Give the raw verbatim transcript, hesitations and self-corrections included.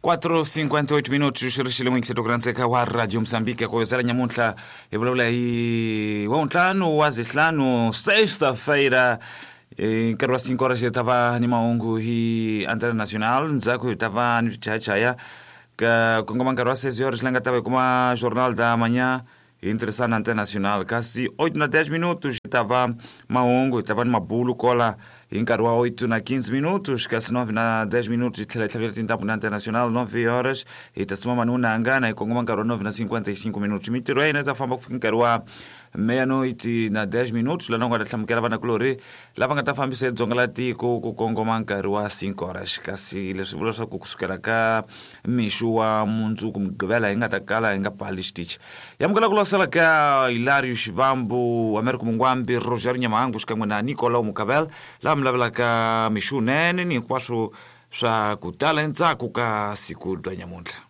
quatro cinquenta e oito minutos xirixile n'wingiseti ku rhandzeka wa Radio Moçambique ku yozela nyamuntlha hi vulavula hi wa ntlhanu wa zihlanu sexta-feira nkarhi wa cinco horas hi ta va ni mahungu hi Antena Nacional ndzhaku hi ta va ni swichayachaya ka kongoma nkarhi wa seis horas la nga ta va hi kuma Jornal da Manhã hi tirhisana Antena Nacional kasi oito na dez minutos hi ta va mahungu hi ta va ni mabulu kola hi nkarhi wa oito na quinze minutos kasi nove na dez minutos hi tlhela hi tlhavela tintambu na Antena Nacional nove horas hi ta suma manunanga na hi kongoma nkarhi wa nove na cinquenta e cinco minutos mintirho ya hina yi ta famba ku fika nkarhi wa meia-noite na dez minutos laha nga ta hlamukela vanakulorhi lava nga ta fambisa edzonga la tiko ku kongoma nkarhi wa cinco horas kasi leswi vula leswaku kusukela ka mixo wa mundzuku mugqivela hi nga ta kala hi nga pfali xitichi yamukela ku losela ka Hilario Xivambu Americo Mungwambi Roger Nyamahangu xikan'we na Nicolau Mukabel lava mi lavelaka mixo wunene ni hinkwaswo swa ku tala endzhaku ka siku bya nyamuntlha.